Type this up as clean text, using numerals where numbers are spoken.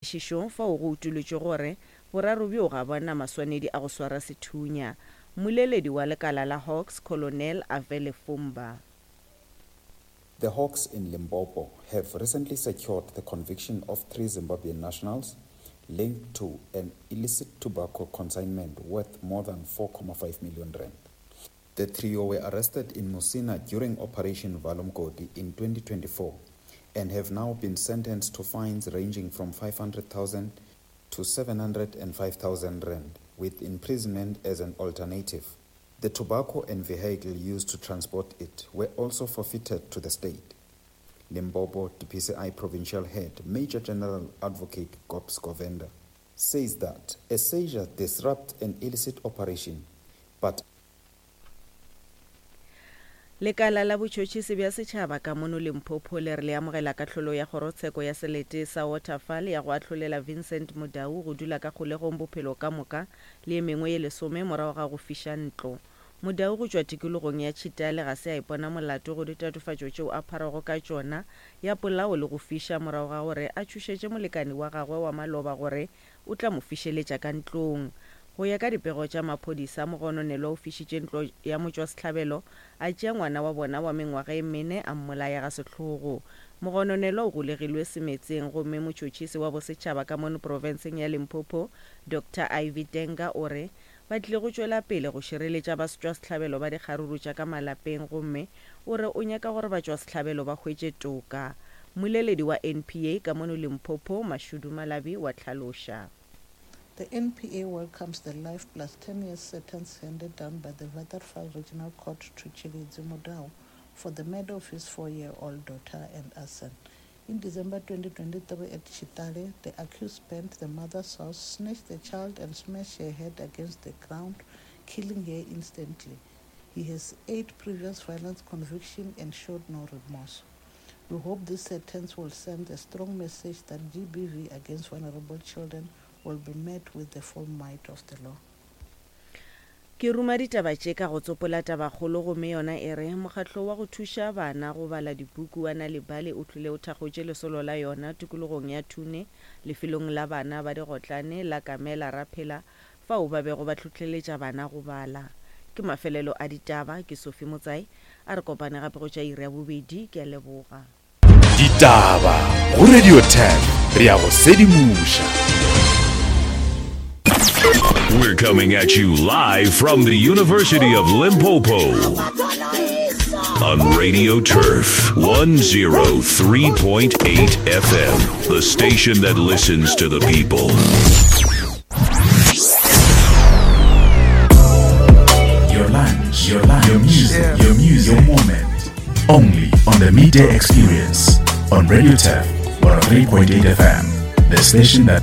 Nyakišišong fao go utolotšwe gore boraro bjo ga bo na maswanedi a go swara sethunya. Mmoleledi wa lekala la Hawks, Colonel Avele Fumba. The Hawks in Limpopo have recently secured the conviction of three Zimbabwean nationals linked to an illicit tobacco consignment worth more than 4.5 million rand. The trio were arrested in Musina during Operation Valomgodi in 2024 and have now been sentenced to fines ranging from 500,000 to 705,000 rand, with imprisonment as an alternative. The tobacco and vehicle used to transport it were also forfeited to the state. Limpopo DPCI Provincial Head, Major General Advocate Gobs Govender, says that a seizure disrupts an illicit operation, but Lekala la botšhotšhisi bja setšhaba ka mono Limpopo le re le amogela kahlolo ya kgorotsheko ya selete sa Waterval ya go ahlolela Vincent Mudau go dula ka kgolegong bophelo ka moka le ye mengwe ye lesome morago ga go fiša ntlo. Mudau go tšwa tikologong ya Tšhitale ga se a ipona molato go ditatofatšo tšeo a pharwago ka tšona ya polao le go fiša morago ga gore a tšhošetše molekani wa gagwe wa maloba gore o tla mo fišeletša ka ntlong. Go ya ka dipego tša maphodisa, mogononelwa o fišitše ntlo ya motšwasehlabelo, a tšea ngwana wa bona wa mengwaga e mene a mmolaya ga sehlogo. Mogononelwa o golegilwe semetseng gomme motšhotšhisi wa bosetšhaba ka mono profenseng ya Limpopo, Doctor Ivy Tenga o re ba tlile go tšwela pele go šireletša baswtšwasehlabelo ba dikgaruru tša ka malapeng gomme o re o nyaka gore batšwasehlabelo ba hwetše toka. Mmoleledi wa NPA ka mono Limpopo, Mashudu Malabi wa hlaloša. The NPA welcomes the life plus 10 years sentence handed down by the Waterval Regional Court to Tshilidzi Mudau for the murder of his four-year-old daughter and arson. In December 2023 at Tshitale, the accused burned the mother's house, snatched the child and smashed her head against the ground, killing her instantly. He has eight previous violence convictions and showed no remorse. We hope this sentence will send a strong message that GBV against vulnerable children will be met with the full might of the law. Ke ruma ditaba tše ka go tsopola tabakgolo gomme yona e re, Mokgatlo wa go thuša bana go bala dipuku wa Nal'ibali o tlile o thakgotše lesolo la yona tikologong ya Thune lefelong la bana ba digotlane la Kamela Raphela fao ba bego ba hlohleletša bana go bala. Ke mafelelo a ditaba, ke Sophie Motsai, a re kopane gape go tša iri ya bobedi, ke a leboga. Ditaba go Radio 10 re a go sedimoša. We're coming at you live from the University of Limpopo on Radio Turf 103.8 FM, the station that listens to the people. Your lunch, your lunch, your music, your music, your moment. Only on the Midday Experience on Radio Turf 103.8 FM, the station that